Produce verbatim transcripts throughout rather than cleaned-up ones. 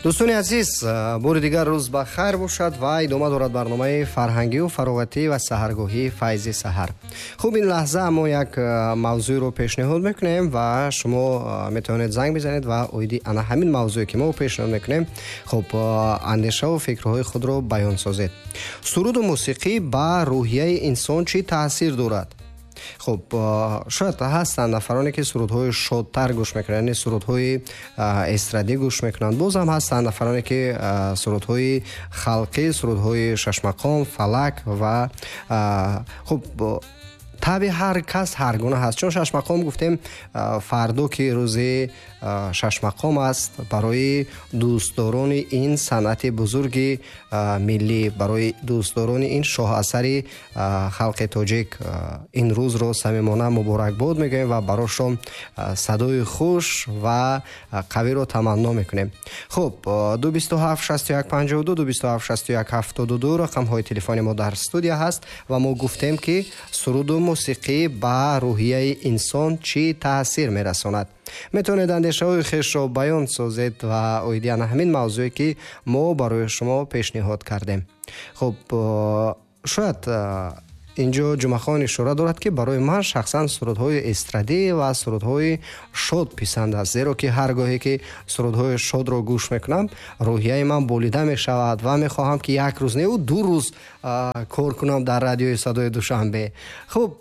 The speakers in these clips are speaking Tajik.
Дӯстони азиз, бори дигар рӯз ба хайр бошад ва идома дорад барномаи фарҳангию фароғатӣ ва саҳаргоҳии Файзи саҳар. Хуб, ин лаҳза мо як мавзӯъро пешниҳод мекунем ва шумо метавонед занг бизанед ва оиди ана ҳамин мавзӯе, ки мо пешниҳод мекунем, хуб, андешаву фикрҳои худро баён созед. Суруду мусиқӣ ба рӯҳияи инсон чӣ таъсир дорад? Хуб, шояд ҳастанд нафароне, ки сурудҳои шодтар гӯш мекунанд, яъне сурудҳои эстрадӣ гӯш мекунанд. Боз ҳам ҳастанд нафароне, ки сурудҳои халқӣ, сурудҳои шашмақом, фалак ва хуб, табъи ҳар кас ҳар гуна ҳаст. Чун шашмақом гуфтем, фардо, ки рӯзи шашмақом аст, барои дӯстдорони ин санъати бузурги миллӣ, барои дӯстдорони ин шоҳасари халқи тоҷик ин рӯзро самимона муборакбод мегӯем ва барошон садои хуш ва қавиро таманно мекунем. Хуб, ду бисту ҳафт шасту як панҷоҳу ду, ду бисту ҳафт шасту як ҳафтоду ду рақамҳои телефони мо дар студия ҳаст ва мо гуфтем, ки суруду мусиқӣ ба рӯҳияи инсон чӣ таъсир мерасонад. Метавонед андешаҳои хешро баён созед ва оиди ана ҳамин мавзӯе, ки мо барои шумо пешниҳод кардем. Хуб, шояд инҷо Ҷумъахон ишора дорад, ки барои ман шахсан сурудҳои эстрадӣ ва сурудҳои шод писанд аст, зеро ки ҳар гоҳе ки сурудҳои шодро гӯш мекунам, рӯҳияи ман болида мешавад ва мехоҳам, ки як рӯз неу ду рӯз кор кунам дар радиои Садои Душанбе. Хуб,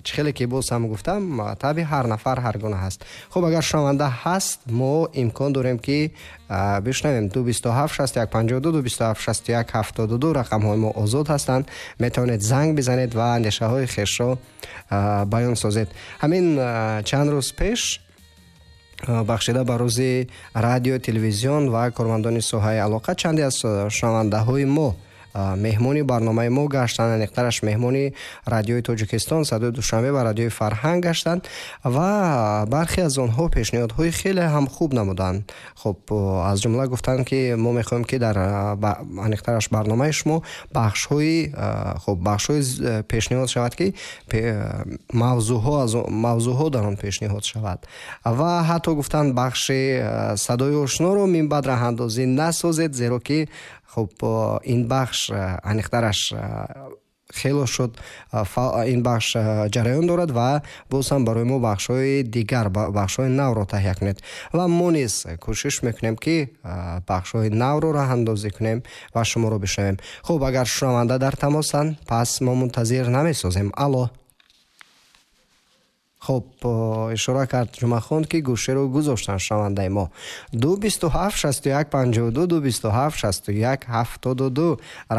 чӣ хеле ки боз ҳам гуфтам, табъи ҳар нафар ҳар гуна ҳаст. Хуб, агар шунаванда ҳаст, мо имкон дорем, ки бишнавем. Ду бисту ҳафт шасту як панҷоҳу ду, ду бисту ҳафт шасту як ҳафтоду ду рақамҳои мо озод ҳастанд. Метавонед занг бизанед ва андешаҳои хешро баён созед. Ҳамин чанд рӯз пеш, бахшида ба рӯзи радио, телевизион ва кормандони соҳаи алоқа, чанде аз шунавандаҳои мо меҳмони барномаи мо гаштанд, аниқтараш меҳмони радиои Тоҷикистон, Садои Душанбе ва радиои Фарҳанг гаштанд ва бархе аз онҳо пешниҳодҳои хеле ҳам хуб намуданд. Хуб, аз ҷумла гуфтанд, ки мо мехоҳем, ки дар аниқтараш барномаи шумо бахшҳои хуб, бахшҳои пешниҳод шавад, ки мавзӯъҳо аз мавзӯъҳо дар он пешниҳод шавад ва ҳатто гуфтанд, бахши Садои ошноро минбаъд раҳандозӣ насозед, зеро ки хуб, ин бахш аниқтараш хело шуд, ин бахш ҷараён дорад ва боз ҳам барои мо бахшҳои дигар, бахшҳои навро таҳия кунед. Ва мо низ кӯшиш мекунем, ки бахшҳои навро раҳандозӣ кунем ва шуморо бишнавем. Хуб, агар шунаванда дар тамосанд, пас мо мунтазир намесозем. Алло. Хуб, ишора кард Ҷумъахон, ки гӯшеро гузоштанд шунавандаи мо. Ду бисту ҳафт шасту як панҷоҳу ду, ду бисту ҳафт шасту як ҳафтоду ду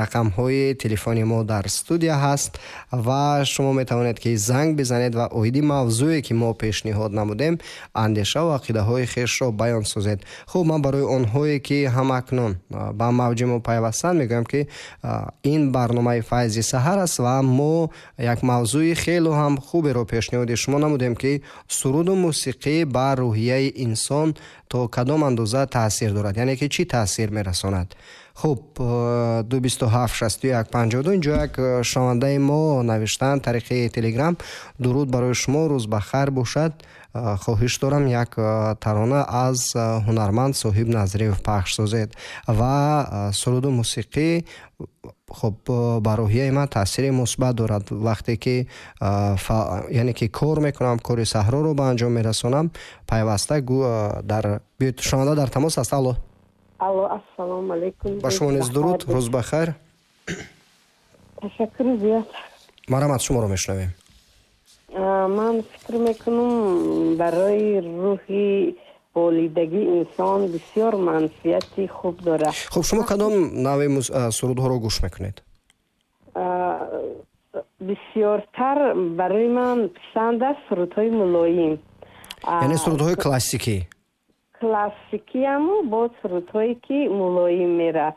рақамҳои телефони мо дар студия ҳаст ва шумо метавонед, ки занг бизанед ва оиди мавзӯе, ки мо пешниҳод намудем, андешаву ақидаҳои хешро баён созед. Хуб, ман барои онҳое, ки ҳамакнун ба мавҷи мо пайвастанд, мегӯям, ки ин барномаи Файзи саҳар аст ва мо як мавзӯи хело ҳам хуберо пешниҳоди шумо намудем, ки суруду мусиқӣ ба рӯҳияи инсон то кадом андоза таъсир дорад, яъне ки чӣ таъсир мерасонад. Хуб, ду бисту ҳафт шасту як панҷоҳу ду. Инҷо як шунавандаи мо навиштанд тариқи Телеграм: дуруд барои шумо, рӯз ба хайр бошад, хоҳиш дорам, як тарона аз ҳунарманд Соҳиб Назриев пахш созед ва суруду мусиқӣ хуб, ба рӯҳияи ман таъсири мусбат дорад. Вақте ки, яъне ки кор мекунам, кори саҳроро ба анҷом мерасонам, пайваста дар биёед. Шунаванда дар тамос аст. Алло. Алло, ассалому алайкум. Ба шумо низ дуруд, рӯз ба хайр. Ташаккури зиёд. Марҳамат, шуморо мешунавем. Ман фикр мекунам, барои рӯҳи болидагии инсон бисёр манфиати хуб дорад. Хуб, шумо кадом навъи сурудҳоро гӯш мекунед? Бисёртар барои ман писанд аст сурудҳои мулоим. Яъне сурудҳои классикӣ? Классикиаму бо сурудҳое, ки мулоим мера,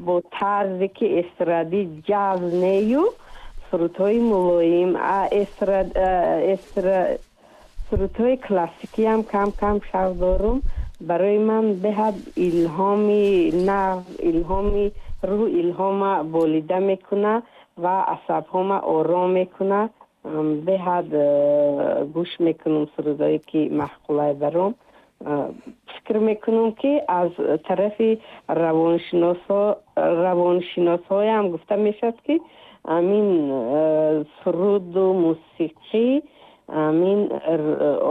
бо тарзе ки эстрадӣ, ҷаз нею, сурудҳои мулоим. Сурудҳои классикиам кам кам шавқ дорум. Барои ман беҳад илҳоми нав, илҳоми рӯҳ, илҳома болида мекуна ва асабҳома ором мекуна. Беҳад гӯш мекунам сурудҳое, ки маъқулай баром. Фикр мекунам, ки аз тарафи равоншиносҳоям гуфта мешавад, ки ҳамин суруду мусиқӣ ҳамин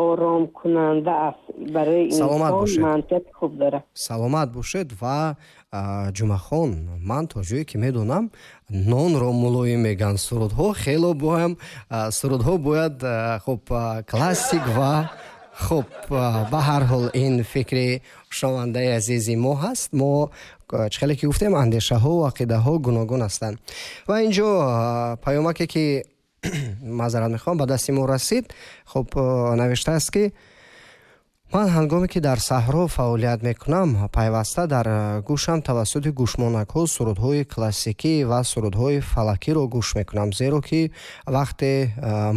оромкунанда аст барои инсон, манфиати хуб дорад. Саломат бошед. Ва Ҷумъахон, ман то ҷое ки медонам, нонро мулоим мегӯянд, сурудҳо хело боям, сурудҳо бояд хуб классик ва хуб. Ба ҳар ҳол, ин фикри шунавандаи азизи мо ҳаст. Мо чӣ хеле ки гуфтем, андешаҳо ва ақидаҳо гуногун ҳастанд. Ва инҷо паёмаке ки, маъзарат мехоҳам, ба дасти мо расид, хуб, навиштааст, ки ман ҳангоме ки дар саҳро фаъолият мекунам, пайваста дар гӯшам тавассути гӯшмонакҳо сурудҳои классикӣ ва сурудҳои фалакиро гӯш мекунам, зеро ки вақте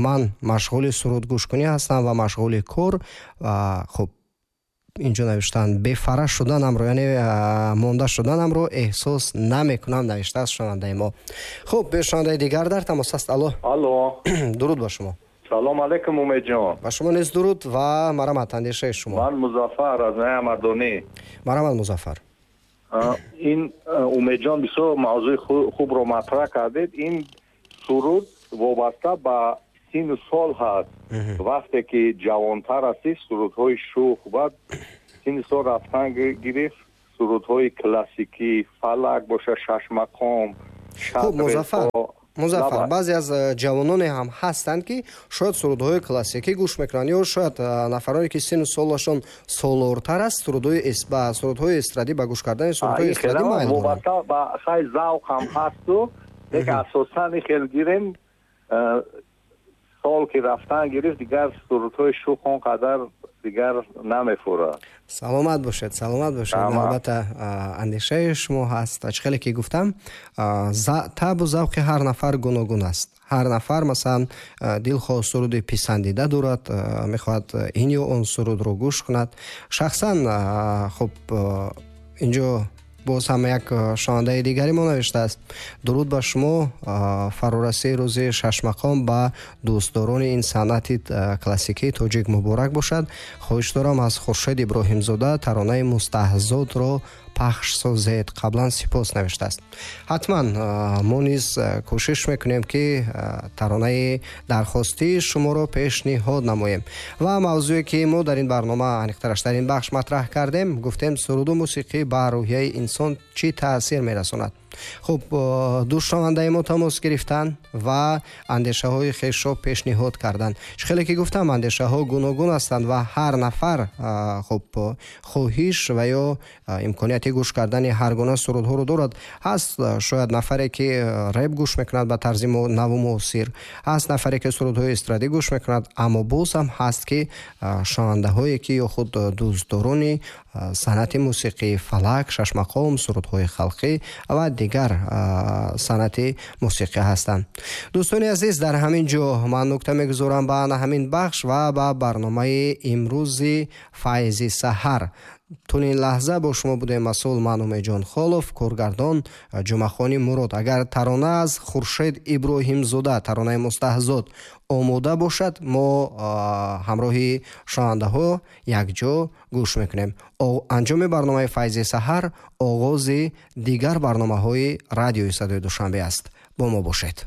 ман машғули сурудгӯшкунӣ ҳастам ва машғули кор, хуб, инҷо навиштаанд, бефара шуданамро, яъне монда шуданамро эҳсос намекунам, навиштааст шунавандаи мо. Хуб, шунавандаи дигар дар тамос аст. Алло. Алло. Дуруд ба шумо. Салом алейкум, Умедҷон. Ба шумо низ дуруд ва марҳамат, андешаи шумо. Ман Музаффар аз ноҳияи Мардонӣ. Марҳамат, Музаффар. Ин Умедҷон, бисёр мавзӯи хубро матраҳ кардед. Ин суруд вобаста ба сину сол ҳаст. Вақте ки ҷавонтар ҳастӣ, сурудҳои шӯх, баъд сини сол рафтан гирифт, сурудҳои классикӣ, фалак боша, шашмақом. Хуб, Музаффар, Музаффар, баъзе аз ҷавононе ҳам ҳастанд, ки шояд сурудҳои классикӣ гӯш мекунанд, ё шояд нафароне ки сину солашон солортар аст, сурудҳои ба сурудҳои эстрадӣ, ба гӯш кардани сурудҳои эстрадӣ майл доранд. Вобаста ба хай завқ ҳам ҳасту, лекин асосан хел гирем, сол ки рафтан гирифт, дигар сурудҳои шӯх он қадар дигар намефурад. Саломат бошед, саломат бошед. Албатта, андешаи шумо ҳаст. Чӣ хеле ки гуфтам, табу завқи ҳар нафар гуногун аст. Ҳар нафар, масалан, дилхоҳ суруди писандида дорад, мехоҳад ин ё он сурудро гӯш кунад шахсан. Хуб, инҷо боз ҳам як шунавандаи дигари мо навиштааст: дуруд ба шумо, фарорасии рӯзи шашмақом ба дӯстдорони ин санъати классикии тоҷик муборак бошад. Хоҳиш дорам, аз Хуршед Иброҳимзода таронаи Мустаҳзодро пахш созед. Қаблан сипос, навиштааст. Ҳатман, мо низ кӯшиш мекунем, ки таронаи дархостии шуморо пешниҳод намоем. Ва мавзӯе ки мо дар ин барнома, аниқтараш дар ин бахш матраҳ кардем, гуфтем, суруду мусиқӣ ба рӯҳияи инсон чӣ таъсир мерасонад. Хуб, ду шунавандаи мо тамос гирифтанд ва андешаҳои хешро пешниҳод карданд. Чӣ хеле ки гуфтам, андешаҳо гуногун ҳастанд ва ҳар нафар, хуб, хоҳиш ва ё имконияти гӯш кардани ҳар гуна сурудҳоро дорад. Ҳаст шояд нафаре ки реп гӯш мекунад ба тарзи наву муосир, ҳаст нафаре ки сурудҳои эстрадӣ гӯш мекунад, аммо боз ҳам ҳаст ки шунавандаҳое ки ё худ дӯстдорони санъати мусиқии фалак, шашмақом, сурудҳои халқӣ ва дигар санъати мусиқӣ ҳастанд. Дӯстони азиз, дар ҳамин ҷо ман нукта мегузорам ба ҳамин бахш ва ба барномаи имрӯзи Файзи саҳар. Тӯли ин лаҳза бо шумо будем масъул ман, Умедҷон Холов, коргардон Ҷумъахони Мурод. Агар тарона аз Хуршед Иброҳимзода, таронаи Мустаҳзод омода бошад, мо ҳамроҳи шунавандаҳо якҷо гӯш мекунем. Анҷоми барномаи Файзи саҳар оғози дигар барномаҳои радиои Садои Душанбе аст. Бо мо бошед.